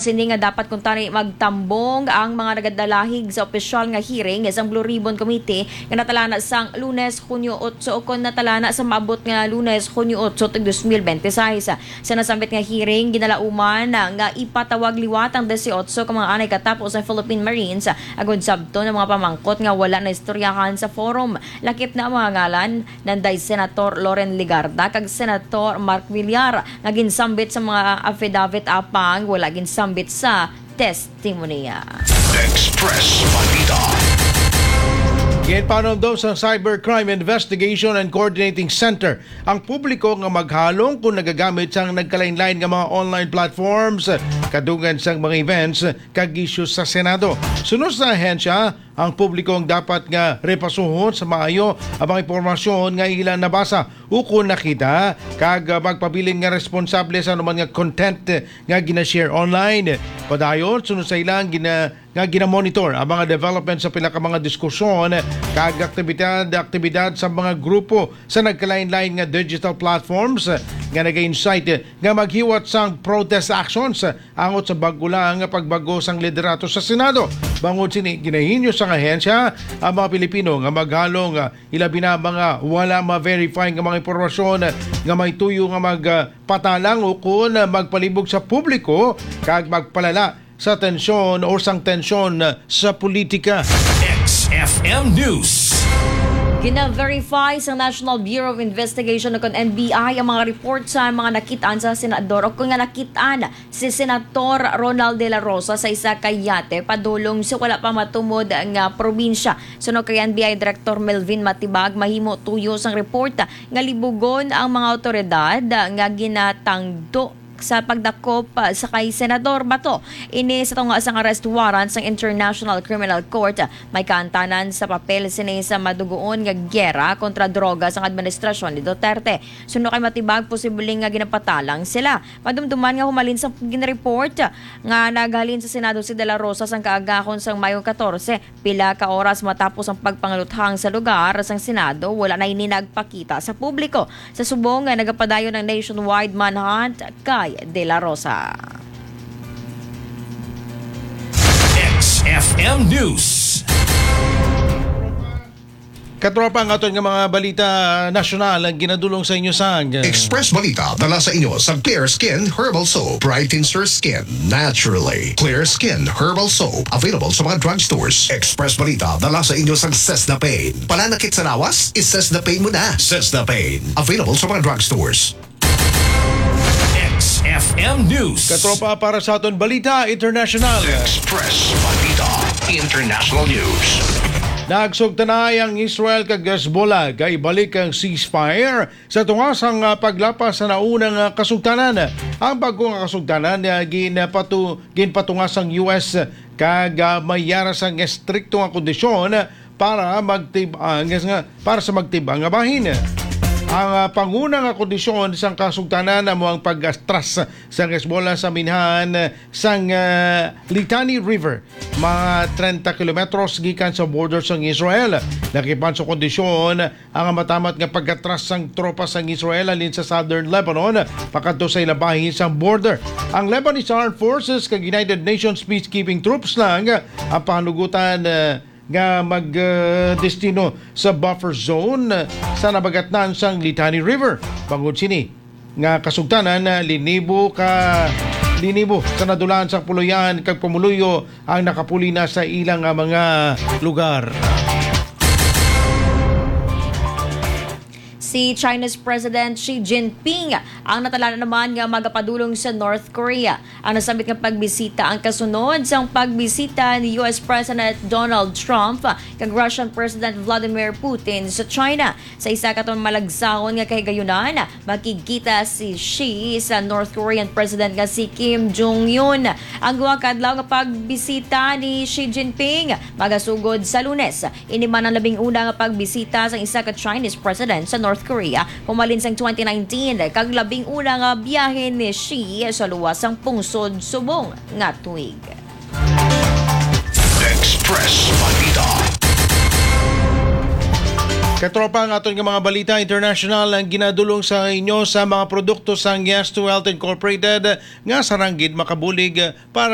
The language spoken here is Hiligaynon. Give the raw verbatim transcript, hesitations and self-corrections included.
Sini nga dapat kuntani magtambong ang mga nagadalahig sa opisyal nga hearing sang Blue Ribbon Committee nga natalana sang Lunes, Hunyo otso, o kon natalana sa maabot nga Lunes, Hunyo otso, tuig dos mil bente seis. Sa nasambit nga hearing, ginalauman nga ipatawag liwat ang disiotso ka mga anay katapos sa Philippine Marines agod sabton ang mga pamangkot nga wala na istoryahan sa forum. Lakip na ang mga ngalan, nanday Senator Loren Legarda kag Senator Mark Villar, nga ginsambit sa mga affidavit apang wala ginsambit sa testimonya. Express Balita. Ginpanundo sa Cybercrime Investigation and Coordinating Center ang publiko nga maghalong kung nagagamit sang nagkalain-lain nga mga online platforms, kadungan sang mga events kag issues sa Senado. Sunod sa ahensya, ang publiko ang dapat nga repasuhon sa maayo ang mga impormasyon nga ila nabasa ukon nakita, kag, ah, magpabilin nga responsable sa anuman nga content nga ginashare online. Padayon, sunod sa ilang gina-, nga ginamonitor ang mga development sa pila ka mga diskusyon kag aktibidad, aktibidad sa mga grupo sa nagkalain-lain nga digital platforms nga naga-incite nga maghiwat sang protest actions angot sa bag-o lang nga pagbago sang liderato sa Senado. Bangod sini, ginahinyo sang ahensya ang mga Pilipino nga maghalong, ah, ilabi na mga wala ma-verify nga mga impormasyon nga may tuyo nga magpatalang ukon magpalibog sa publiko kag magpalala sa tensyon o sang tensyon sa politika. X F M News. Gina-verify sa National Bureau of Investigation o kon N B I ang mga report sa mga nakitaan sa senador o kon nga nakitaan si Senator Ronald De La Rosa sa isa ka yate padulong sa wala pa matumod nga probinsya. Suno kay N B I Director Melvin Matibag, mahimo tuyo sang report nga libugon ang mga awtoridad nga ginatangdo sa pagdakop, ah, sa kay Senador Bato. Ini sa tunga sang arrest warrant sang International Criminal Court. May kaantanan sa papel sini sa madugoon nga giyera kontra droga sang administrasyon ni Duterte. Suno kay Matibag, posible nga ginapatalang sila. Madumduman nga humalin sa ginreport nga naghalin sa Senado si De La Rosa sang kaagahon sang Mayo katorse, pila ka oras matapos ang pagpangaluthang sa lugar sang Senado, wala na ini nagpakita sa publiko. Sa subong nga nagapadayon ang nationwide manhunt kay De La Rosa. X F M News. Katropa, ang aton nga mga balita nasyonal ang ginadulong sa inyo sang Express Balita, dala sa inyo sa Clear Skin Herbal Soap. Brightens your skin naturally. Clear Skin Herbal Soap, available sa mga drugstores. Express Balita, dala sa inyo sang Sesda Pain. Pananakit sa lawas? I-Sesda Pain mo na. Sesda Pain, available sa mga drugstores. X F M News. Katropa, para sa aton balita international. Express Balita International News. Nagsugtanay ang Israel kag Hezbollah kay balik ang ceasefire sa tunga sang, ah, paglapas sa naunang, ah, kasugtanan. Ang bag-o nga kasugtanan, ah, ginpatu-, ginpatunga sang U S kag, ah, may yara sang estrikto nga kondisyon para magtib-, ah, nga, para sa magtib-ang nga bahin. Ang, ah, panguna nga kondisyon sang kasugtanan amo ang pag-atras sang Hezbollah sa minhan sang, ah, Litani River, mga treinta kilometros gikan sa border sang Israel. Nakipan sa kondisyon ang matamat nga pag-atras sang tropa sang Israel halin sa southern Lebanon pakadto sa ila bahin sang border. Ang Lebanese Armed Forces kag United Nations peacekeeping troops lang ang pahanugutan, ah, nga mag, ah, destino sa buffer zone, ah, sa nabagatnan sang Litani River. Bangod sini nga kasugtanan, ah, linibo ka, linibo sa nadulaan sang puloy-an kag pumuluyo ang nakapuli na sa ilang, ah, mga lugar. Si China's President Xi Jinping ang natalana naman nga magapadulong sa North Korea. Ang nasambit nga pagbisita ang kasunod sang pagbisita ni U S President Donald Trump kag Russian President Vladimir Putin sa China. Sa isa ka malagsaon nga kahigayunan, makigkita si Xi sa North Korean President nga si Kim Jong-un. Ang duha ka adlaw nga pagbisita ni Xi Jinping magasugod sa Lunes. Ini man ang labing una nga pagbisita sang isa ka Chinese president sa North Korea humalin sang twenty nineteen, kag labing una nga biyahe ni Xi sa luwas sang pungsod subong nga tuig. Express Balita. Katropa, ang aton nga mga balita international ang ginadulong sa inyo sa mga produkto sang Yes to Health Incorporated nga sarang gid makabulig para